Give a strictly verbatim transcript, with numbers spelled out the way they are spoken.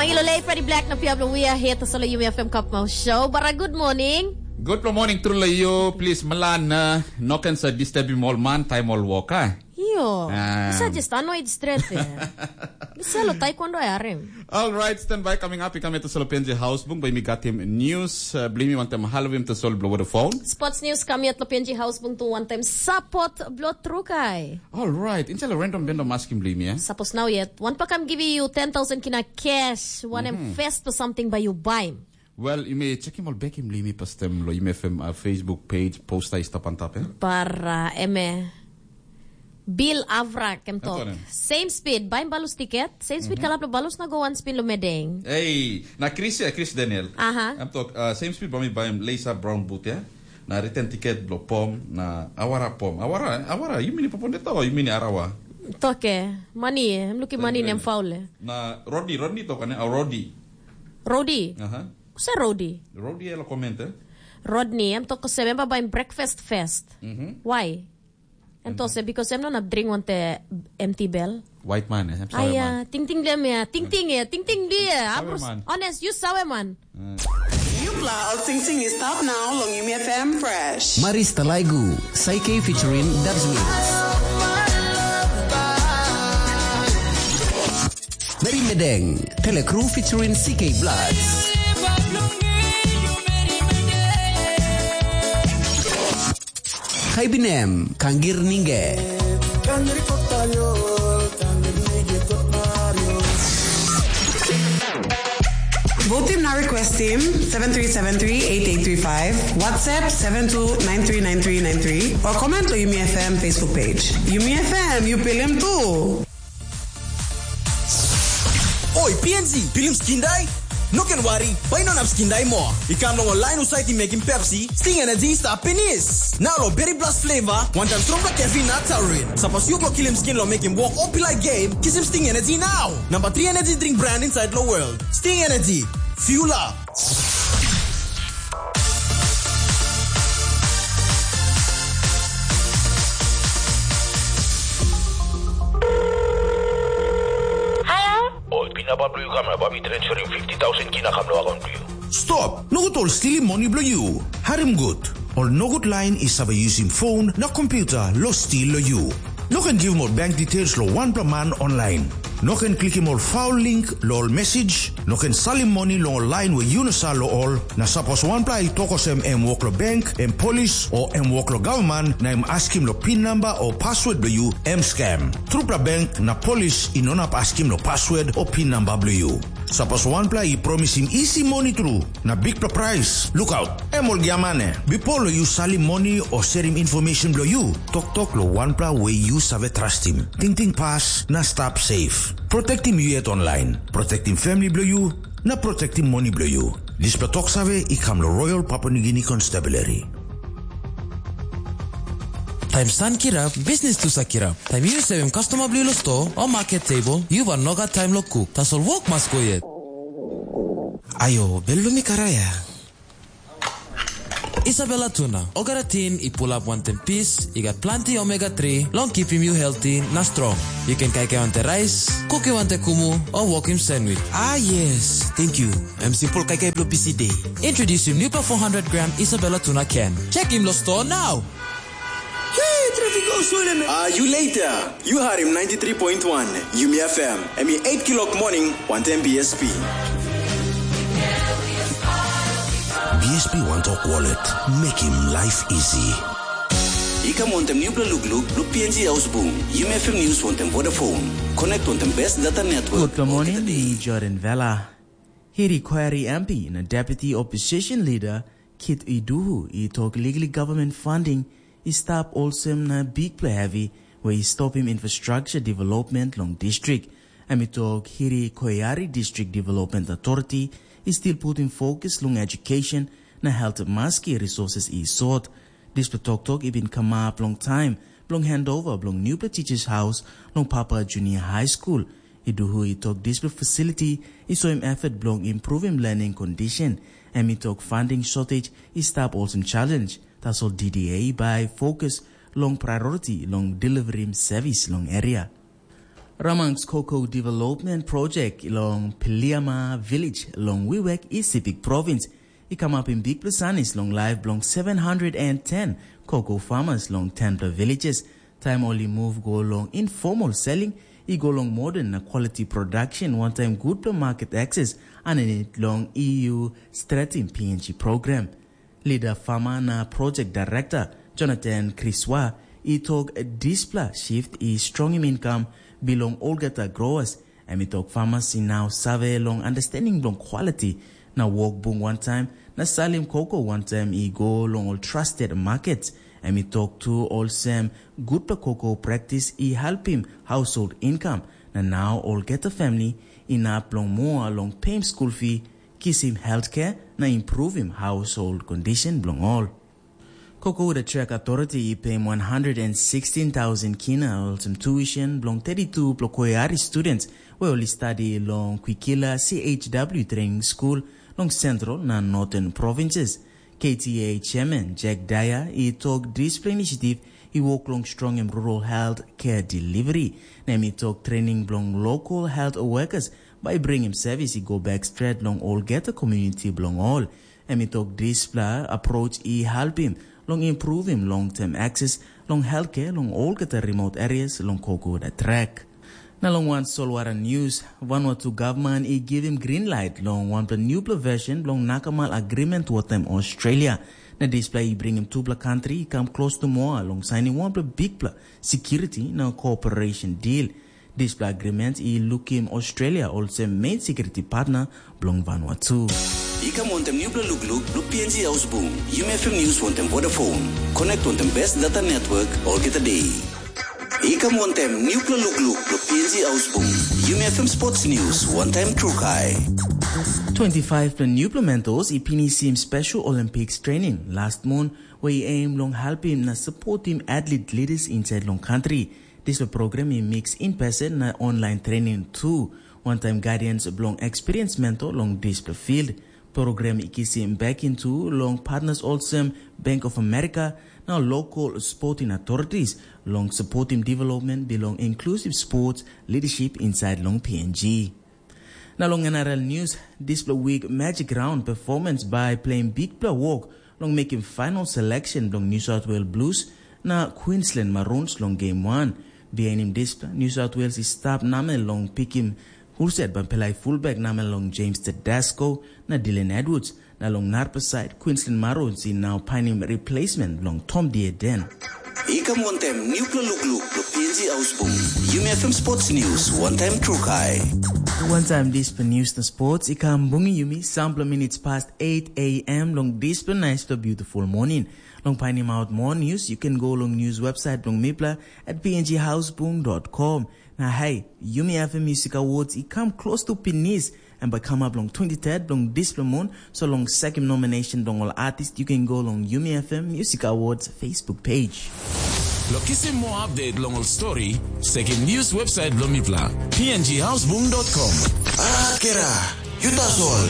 Pagilo lei Freddy Black na pia bilong We Are Here tasol Yumi F M Cup Mouth Show. Bara good morning. Good morning truly you. Please Milan, uh, no can sa disturb him all man time all walk, ah? Yo, Ah. Bisa just annoyed straight there. Bisa lo taekwondo ya rem. All right, stand by coming up. Ikam itu solo penji house bung by mi got him news. Uh, blimi wantem halvim to sol blow the phone. Sports news kami at lo penji house bung tu wantem support blo trukai. All right, instead of random bendo masking blame, yeah? Suppose now yet, one pa kam give you ten thousand kina cash, one mm-hmm. First or something by you buy him. Well, you may check him all back him limi pastem lo you may fem uh, Facebook page post I stop on top, eh? Par uh, eme Bill Avra kem talk. Same speed, buy him balus ticket, same speed mm-hmm. Kalap lo balus na go one spin lo medeng. Hey, na Chris, uh, Chris Daniel. Aha. I'm talk uh, same speed by me buy him lace up brown boot, yeah? Na return ticket blo pom na awara pom. Awara, awara, you mean poponeta or you mean arawa? Toke, money, I'm looking money nem faule. Na Rodney, Rodney toka ne, a Roddy. Roddy. Aha. Kuse Roddy? Roddy ela comment, eh? Rodney, em toko se memba baim breakfast fest. Mhm. Why? Em to se because em no nap drink wante empty bell. White man, eh? Em sawe Aya, man. Ting ting dem ya, ting ting ya, ting ting dia. Sawe Abrus, man. Honest, you sawe man. Yupla al ting ting is tap now long Yumi F M Fresh. Maris Talaigu, Saike featuring Dubs Wings. Mary Medeng, Telecrew featuring C K Bloods. Hai binem, Kangir Ningge. Vote team na request team seven three seven three eight eight three five, WhatsApp seven two nine three nine three nine three, or comment to Yumi F M Facebook page. Yumi F M, you pilim too. Oi, P N G, pilim skin dai? No ken wari, bai no nap skin dai moa. I kam long ol lain husat i mekim Pepsi, Sting Energy i stap pinis. Nau lo Berry Blast flavor, wantaim strongpela caffeine na taurine. Sapos yu go kilim skin lo mekim wok o pilai game, kisim Sting Energy nau. Namba tri energy drink brand inside lo world. Sting Energy, fuel up. Ol pinabat bilong yu kam na bai mi transferim fifty thousand kina kam long akaun bilong yu. Stop! Nogut ol stilim moni bilong yu. Harim gut. Ol nogut lain i save yusim phone na computer lo stil lo yu. No ken givim ol bank details lo wanpela man online. No ken klikim ol foul link lo ol message. No ken salim moni long ol lain we yu no sa lo ol. Na sapos wanpela i tok olsem em wok lo bank, em polis, o em wok lo gavman, na em askim lo pin namba o password bilong yu, em scam. Trupela bank na polis i no inap askim lo password o pin namba bilong yu. Sapos wanpela i promisim isi moni tru na bikpela prais, lukaut, em ol giamane. Bipo lo yu salim moni o serim information bilong yu, toktok lo wanpela we yu save trastim. Tingting pas na stap safe. Protektim yu yet online. Protektim family bilong yu na protektim moni bilong yu. Dispela tok save i kam lo Royal Papua New Guinea Constabulary. Taim san kirap, bisnis tu sa kirap. Taim yu sevim kastoma bilong yu lo sto o maket tebol, yu bai no gat taim lo kuk. Tasol wok mas go yet. Ayo, bel bilong mi karaia. Isabella tuna, olgeta tin i pulap wantaim pis, i gat planti omega tri long kipim yu helti na strong. Yu ken kaikai wantaim rais, kukim wantaim kumu, o wokim sandwich. Ah yes, thank you. Em simpel kaikai bilong busy day. Introducing new four hundred gram Isabella tuna can. Check him lo store now. Hey, traffic go swell me. Ah, you later. You heard him ninety-three point one, Yumi F M. Em i eight kilok morning, wantaim B S P. B S P One Talk Wallet, making life easy. I kam wantaim nupela lukluk bilong P N G House Bung, Yumi F M News wantaim Vodafone. Connect wantaim best data network. Good morning, mi Jordan Vela. Hiri Kwari M P na Deputy Opposition Leader Kit Iduhu i tok liklik government funding i stap olsem na bikpela hevi we i stopim infrastructure development long distrik. Em i tok Hiri Koyari District Development Authority i stil putim fokus long education na health maski resources i sot. Dispela toktok i bin kamap long taim bilong handover bilong nupela teachers haus long Papa Junior High School. Iduhu i tok dispela facility i soim effort bilong improvim learning condition. Em i tok funding shortage i stap olsem challenge, tasol D D A bai fokus long priority long deliverim service long area. Ramang's Cocoa Development Project long Piliama Village long Wewak i Sepik Province i kamapim bikpela sanis long laip bilong seven hundred and ten cocoa farmers long tenpela villages. Taim ol i move go long informal selling, i go long modern na quality production wantaim gutpela market access aninit long E U Stratim P N G program. Lida farmer na project director Jonathan Kriswa i tok dispela shift i strongim income bilong olgeta growers. Em i tok farmers i now save long understanding bilong quality na wok bung wantaim na salim koko wantaim i go long ol trusted markets. Em i tok tu olsem gutpela koko practice i helpim household income, na nau olgeta family inap long moa long peim skul fi, kisim healthcare na improvim household condition bilong ol. Cocoa Track Authority i peim one hundred and sixteen thousand kina olsem tuition bilong thirty-two plokoiari students we ol i stadi long Kwikila C H W Training School long Central na Northern Provinces. K T A Chairman Jack Dyer i tok dispela initiative i wok long strongim rural health care delivery, na em i tok training bilong local health workers bai i bringim service i go back stret long olgeta community bilong ol. Em i tok dispela approach i helpim long improvim long-term access long healthcare long olgeta remote areas long Kokoda Track. Na long wan solwara news, Vanuatu gavman i givim green light long wanpela newpela version bilong nakamal agreement wantaim Australia. Na dispela i bringim tupela kantri i kam klostu moa long sainim wanpela bikpela security na cooperation deal. Dispela agreement i lukim Australia olsem main security partner bilong Vanuatu. I kam wantaim nupela lukluk long P N G Haus Bung, Yumi F M News wantaim Vodafone. Connect wantaim best data network olgeta day. I kam wantaim nupela lukluk long P N G Haus Bung, Yumi F M Sports News wantaim Trukai. Twenty-five pela nupela mentos i pinisim Special Olympics training last month, where i aim long helpim na supportim athlete leaders inside long country. Dispela program i mix in person na online training tu, wantaim guidance bilong experienced mentor long dispela field. Program i kisim backing tu long partners olsem Bank of America na local sporting authorities long supporting development bilong inclusive sports leadership inside long P N G. Na long N R L News, dispela week Magic Round performance by playing bikpela work long making final selection bilong New South Wales Blues na Queensland Maroons long Game one. Bihainim dispela, New South Wales i stap namel long pikim husat bai pelai fullback namel long James Tedesco na Dylan Edwards, na long narapela side, Queensland Maroons i nau painim replacement bilong Tom Dieden. I kam wantaim nupela lukluk long P N G Haus Bung, Yumi F M Sports News wantaim Trukai. Wantaim dispela news na sports i kam bungim yumi sampela minutes past eight a m long dispela nice to beautiful morning. Long painim out more news, you can go long news website bilong mipela at P N G Haus Bung dot com. Na hey, Yumi F M Music Awards i kam klostu pinis, em bai kamap long twenty-third bilong dispela mun, so long sekim nomination bilong ol artist, you can go long Yumi F M Music Awards Facebook page. Long kisim moa update long ol story, sekim news website bilong mipela, P N G Haus Bung dot com. Akera, yu tasol.